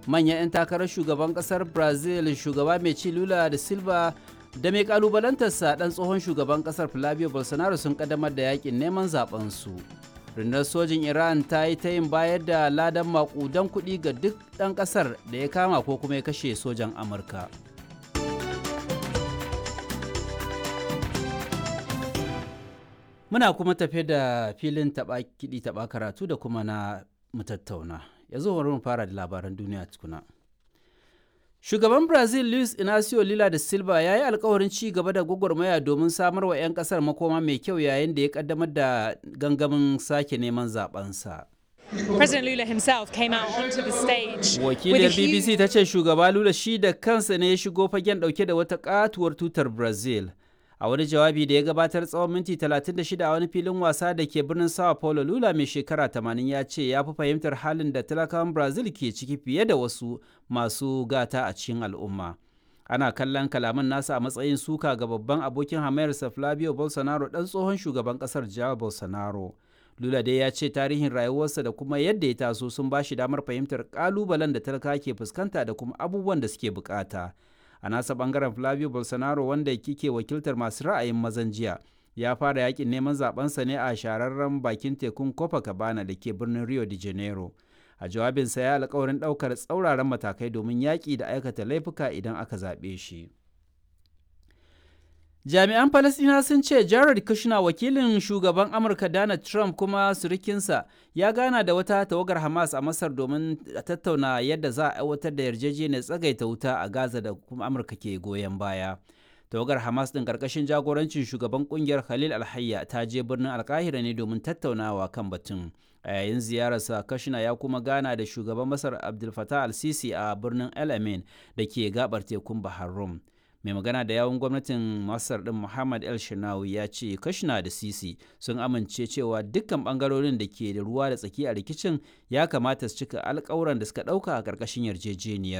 Manyan 'yan takarar shugaban kasar Brazil, shugaba mai ci Lula da Silva da mai kalubalantarsa dan tsohon shugaban kasar Flavio Bolsonaro, sun kaddamar da yakin neman zaben su. Rundunar sojin Iran ta yi ta yin bayar da ladan makudan kuɗi ga duk ɗan ƙasar da ya kama ko kuma ya kashe sojan Amurka. Muna kuma tafe da filin taɓa kiɗi taɓa karatu da kuma na mutattauna. Yanzu bari mu fara da labaran duniya tukuna. Shugaban Brazil Luis Inacio Lula da Silva ya yi alkawarin ci gaba da gwagwarmaya domin samar wa 'yan kasar makoma mai kyau yayin da ya kaddamar da gangamin sake neman zabensa. President Lula himself came out onto the stage. Wakiliyar BBC ta ce shugaba Lula shi da kansa ne ya shigo fagen dauke da wata katuwar tutar Brazil. A wani jawabi da ya gabatar tsawon minti 36 a wani filin wasa da ke birnin Sao Paulo, Lula mai shekara 80 ya ce ya fi fahimtar halin da talakawan Brazil ke ciki fiye da wasu masu gata a cikin al'umma. Ana kallon kalaman nasa a matsayin suka ga babban abokin hamayarsa Flavio Bolsonaro, dan tsohon shugaban kasar Jair Bolsonaro. Lula dai ya ce tarihin rayuwarsa da kuma yadda ya taso sun ba shi damar fahimtar kalubalen da talaka ke fuskanta da kuma abubuwan da suke bukata. A nasa bangaren, Flavio Bolsonaro, wanda kike wakiltar masu ra'ayin mazan jiya, ya fara yakin neman zabensa ne a shahararren bakin tekun Copacabana da ke birnin Rio de Janeiro. A jawabinsa ya alkawarin daukar tsauraran matakai domin yaƙi da aikata laifuka idan aka zaɓe shi. Jami'an Falasɗina sun ce Jared Kushner, wakilin shugaban Amurka Donald Trump kuma surukinsa, ya gana da wata tawagar Hamas a Masar domin tattauna yadda za a aiwatar da yarjejeniyar tsagaita wuta a Gaza da kuma Amurka ke goyon baya. Tawagar Hamas ɗin ƙarƙashin jagorancin shugaban ƙungiyar Khalil Alhayya ta je birnin Alkahira ne domin tattaunawa kan batun. A yayin ziyararsa, Kushner ya kuma gana da shugaban Masar Abdul Fattah al-Sisi a birnin El Amin da ke gabar tekun Bahar Rum. Mai magana da yawun gwamnatin Masar din Muhammad El Shinawi ya ce Kashina da Sisi sun amince cewa dukkan bangarorin da ke da ruwa da tsaki a rikicin ya kamata su cika alkawuran da suka dauka a karkashin yarjejeniyar.